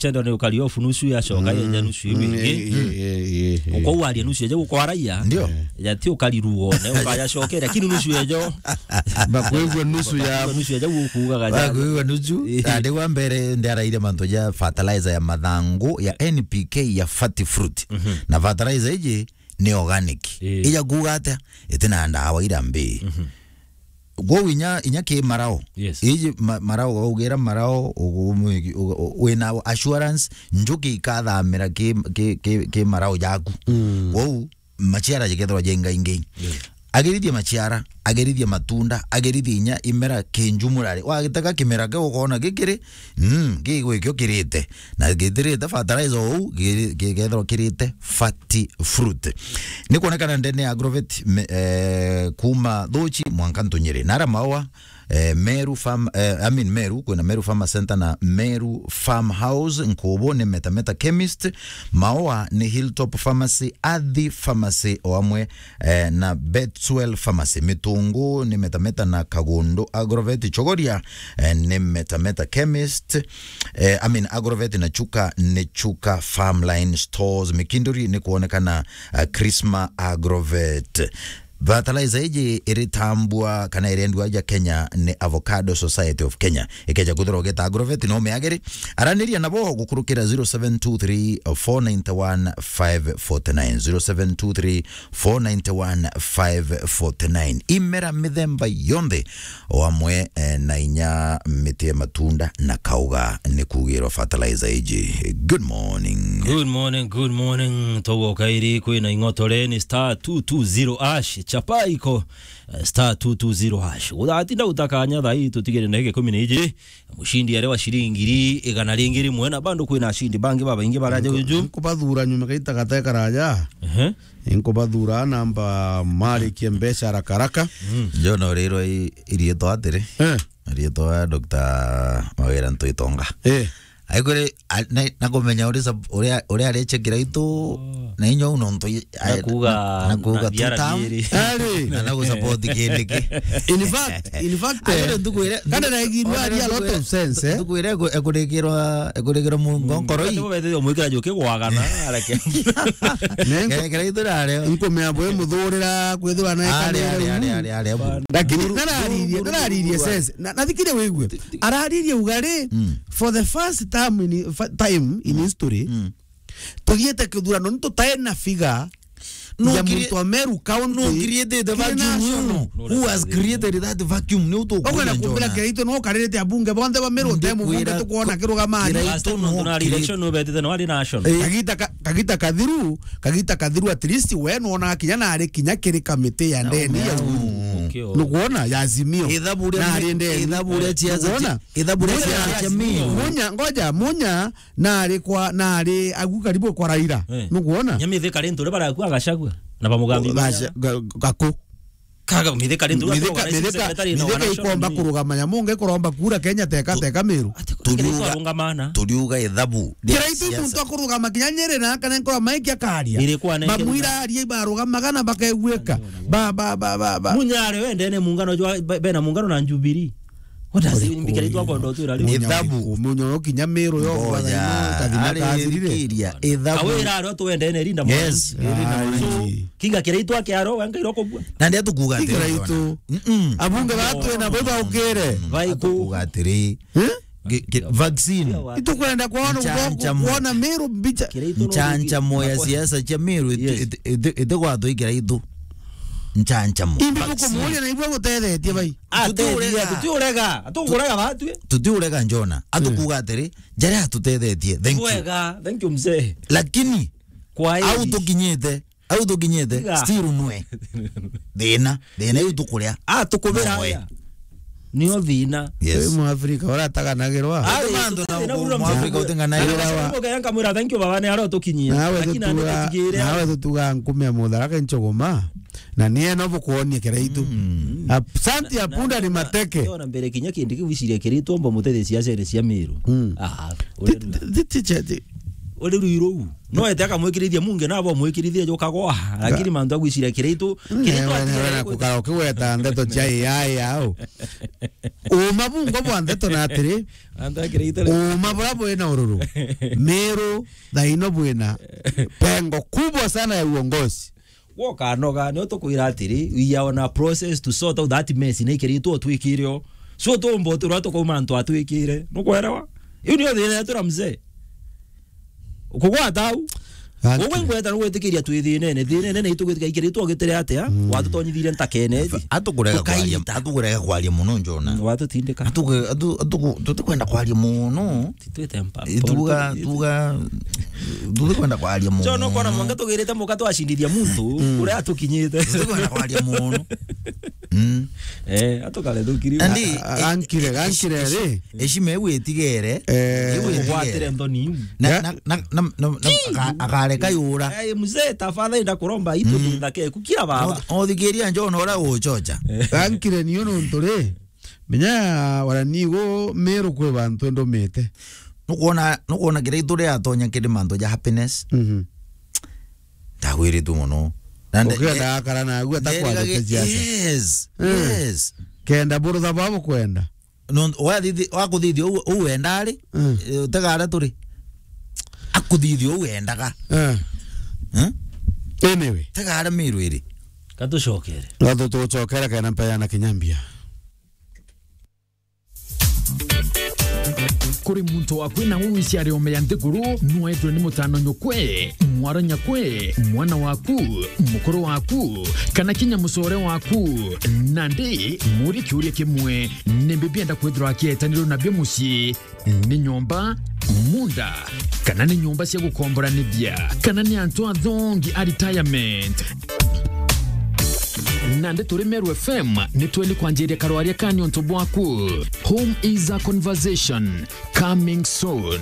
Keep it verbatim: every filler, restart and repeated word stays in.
Chendo ni ukari off nusu yacoka, mm, yenja nusu iu, mm, ingi. Eh, eh, eh, eh, eh. Uko waria nusu ejo ukwaraia. Ndio. Ya ti ukari ruone, ukayacokera, lakini nusu ejo. Bakwigua nusu ya nusu ejo ukugaga ja. Bakwigua nusu. Eh. Andi wa mbere ndiaraire mantu ja fertilizer ya mathangu ya N P K ya Fati Fruit. Mhm. Na fertilizer iji ni organic. Eh. Ija kuuga atia? Itina ndawa ira mbii. Mhm. Kwou inya, inya ki marao. Yes. Iji ma-, marao, ugira marao, ugu-, ugu-, ugu-, wina assurance, njuki ikathamira ki, ki, ki, ki marao jaku. Mm. Kwou, maciara jikethirwa jengaingi. Yes. Agerithie maciara, agerithie matunda, agerithie inya imera kinjumurari. Wagitega kimera kiu ukona gikiri, mm, gigwikio kirite. Na gitirite fertilizer ou, gi-, gikethirwa kirite Fati Fruit. Ni kwonekana ndene ya Agrovet, me-, eh, kuma Thuchi mwanka Ntunyiri. Nara Maua, eh, Meru Farm, eh, I mean Meru, kwina Meru Farmer Center na Meru Farmhouse, Nkubu ni Meta Meta Chemist, Maua ni Hilltop Pharmacy, Athi Pharmacy o amwe, eh, na Betswell Pharmacy. Mitungu ni Meta Meta na Kagundu Agrovet, Chogoria, eh, ni Meta Meta Chemist, eh, I mean Agrovet na Chuka ni Chuka Farmline Stores. Mikinduri ni kwonekana, eh, Krisma Agrovet. Fertilizer iji iritambua kana irendua ja Kenya ni Avocado Society of Kenya. Ikeja kwithirwa ugeta Agrovet no umiagiri. Araniria nabo gukurukira zero seven two three, four nine one, five forty nine, zero seven two three, four nine one, five forty nine. Imera mithemba yonthe o amwe, eh, na inya miti ya matunda na kauga ni kugirwa fertilizer iji. Good morning. Good morning, good morning. Togo kairi kwina ing'otore ni star two two zero hash. Chapa iko, eh, star two two zero hash. Uthatinda utakanya thaa ii tutigire ndagika ikumi na ijiri. Mushindi arewa shilingi ngiri igana ringi rimwe, na bado kwina ashindi bangi babaingi baraja uju. Nkubathura nyuma gaita gateka raja. Ehe. Nkubathura namba marikie mbeca haraka haraka. Mm. Jona urirwa i-, iriitwa atiri. Eh. Iriitwa Doctor Mawira Ntuitonga. Eh. Aikore, a-, na, na kumenya uri sab-, uria, uria areche kiraitu, oh, na inyo uno ntu i-, a-, nakuga, na, nakuga na biara tutam. Biiri. Ari. Na nagusupport kindi ki. In fact, in fact, aikore, eh, ntukwire, kana ntu-, naigirwa aikore ari a lot ntukwire, of sense, eh? Ntukwire eku-, ekurikirwa, ekurikirwa mungu, mm, nkoro ii. Ati bubete omwikira juki gwagana, areke. Nenko-, kere, kere itu rare. Nkumea bwe muthurira, kwithirwa na ari, ekanire ari, uu. Ari, ari, ari, abu. Lakini ndu-, nararirie, ndu-, ndu-, nararirie ndu-, sense. Na, na thikire wigue. Araririe ugari, mm, for the first time in, fa-, time in, mm, history, mm, tugiete kithurano ni tutae na figa ya muntu wa Meru County. No created the vacuum. Who has created that vacuum? Ni utu. Okwenda kumbira kiraitu no karirite abunge bonthe ba Meru te mubunge tukwona kirugama ari. Kiraitu no, na election no betite no ari na action. Eh. Kagita ka-, kagita kathiru, kagita kathiru at least we no ona kinya na ari kinya kiri kamiti ya ndeni ya uru. Nukwona ya Azimio. Ithabu ria, na ari ndeni. Ithabu ria siasa. Nukwona? Ithabu ria siasa cia Meru. Munya, ngoja, Munya, na ari kwa, na ari agu karibu kwa Raila. Eh. Nukwona? Nyamithika rintu ri baraku agacagua. Na bamugambi. Gaku. Kaga mithika rintu ri. Mithika, mithika, mithika ikomba kurugama ya munge kuromba kura Kenya teka, teka Meru. Turiuga, turiuga ithabu ria siasa. Kiraitu muntu akurugama kinya Nyeri na kana nkora maiki akaria. Bamwira arie barugamaga na bakaigwika. Ba, ba, ba, ba, ba. Munya ari wendene muungano jwa, be-, bena muungano na Jubilee. What does it mean? Bikira itwa kondo twira riu. Ithabu. Munya kinya Meru yo. Ngoja, kathina ari kathirire. Ithabu. Awira ari tuwendene rinda mwana. Yes. Ai. So, kiga kira itwa kiaro, wenga iroko bua. Na ndia tukuga ati. Kiga itu. Mm-mm. Abunge batu na baba ukire. Vai ku. Atukuga atiri. Eh? Gi-, gi-, vaccine. Itukwenda kwona, ncha-, ncha-, kwona Meru mbicha. Nchancamo ya siasa cia Meru iti-, yes, iti-, iti-, iti gwatwikira itu. Nchancamo. Imbi vaccine. Bukumuria na ibwe gutethetie bai. Tutiurega, tutiurega, tutiurega batwi. Tutiurega Jona. Atukuga atiri, jaria atutethetie. Thank you. Wega, thank you mzee. Lakini, kwa au tukinyite, au tukinyite, still nwe. Thina, thina iu tukuria. Ah, tukubira. Nwe. Aya. Nio thina. Yes. Wi Mwafrika urataganagirwa. Ah, mantu na thina uru Mwafrika utingana. Ira wa. Nkamwira, "Thank you baba, ni aro tukinyie." Nawe tutuga, nawe tutuga nkume ya mutharaka nchogoma. Na niye no bukuonie kiraitu. Mm. Asante ya punda ni mateke. Ona mbere kinya kindi kiu iciria kiraitu omba mutete siasa cia Meru. Mm. Ah, ti, ti, ti, ti, ti, uri rui ruu. No ete akamwikirithia munge, nabo mwikirithie jukagwa. Lakini mantu agwiciria Kiraitu, Kiraitu atigere kugweta ndeto cia A I au. Uma bungo bwa ndeto na atiri, Antu a Kiraitu. Uma bura bwina ururu. Meru, thaino bwina pengo kubwa sana ya uongozi. Gwokanoga, nio tukwira atiri, we are on a process to sort out that mess na ikiritwo twikire o. So tumba utirwa tukauma antu atwikire. Nukwelewa? Iu nio thina yetu na mzee. Kugwata au. Gugwe ngweta nugwitikiria twi thinene. Thinene na itugwitikia ikiritwo gitire atia? Mm. Watutonyithirie ntakene ithi. Atukurega kwaria, atukurega kwaria muno, Njona. Mm, watutindika. Atuku-, atu-, atuku-, tutikwenda kwaria muno. Titwite mpa-, Ituga, politiki. Tuga, tutikwenda kwaria muno. Njona ukona mwanga tugirite muka twacindithia muntu, mm, uria atukinyite. Tutikwenda kwaria muno. Mm. Eh, atukare thukiri. Andi, a-, a-, gankire, gankire ri. Heshima iu itigere. Eh. Iu itigere. Ugwatire nthoni iu. Na, na, na, na, na, na, aka-, akareka yura. Eh, mzee, tafadhali ndakuromba, itu, mm, thake, kukira baba. O-, othikiria Njona uria uchocha. Gankire niyo nontu ri. Menya wara nigo Meru kwi bantu ndumite. Nukwona, nukwona Kiraitu ria atonya kiri mantu ja happiness. Mhm. Ndagwiritwe muno. Na nde-, ukenda akara nagu atakwathete siasa. Yes, mm, yes. Kenda burutha bwa bukwenda. No, wathithi-, wakuthithia u-, u wenda ari, mm, eh, utegara turi. Akuthithia u wendaga. Eh. Eh? Anyway. Tegara Meru iri. Katucokere. Gatu tucokere kena mpeana kinyambia. Kuri muntu waku na uu iciari ome ya nthiguru, nwethwe ni mutano nyukwe, mwara nyakwe, mwana waku, mukuru waku, kana kinya mucore waku. Nandi, muri kiuria kimwe, nimbi bienda kwithirwa akietanirwe nabio mucii? Ni nyomba, munda, kana ni nyomba cia gukomboranithia, kana ni antu athongi a retirement? Nandi turi Meru F M, ni tweni kwanjiria karwaria ka ni untu bwaku. Home is a conversation. Coming soon.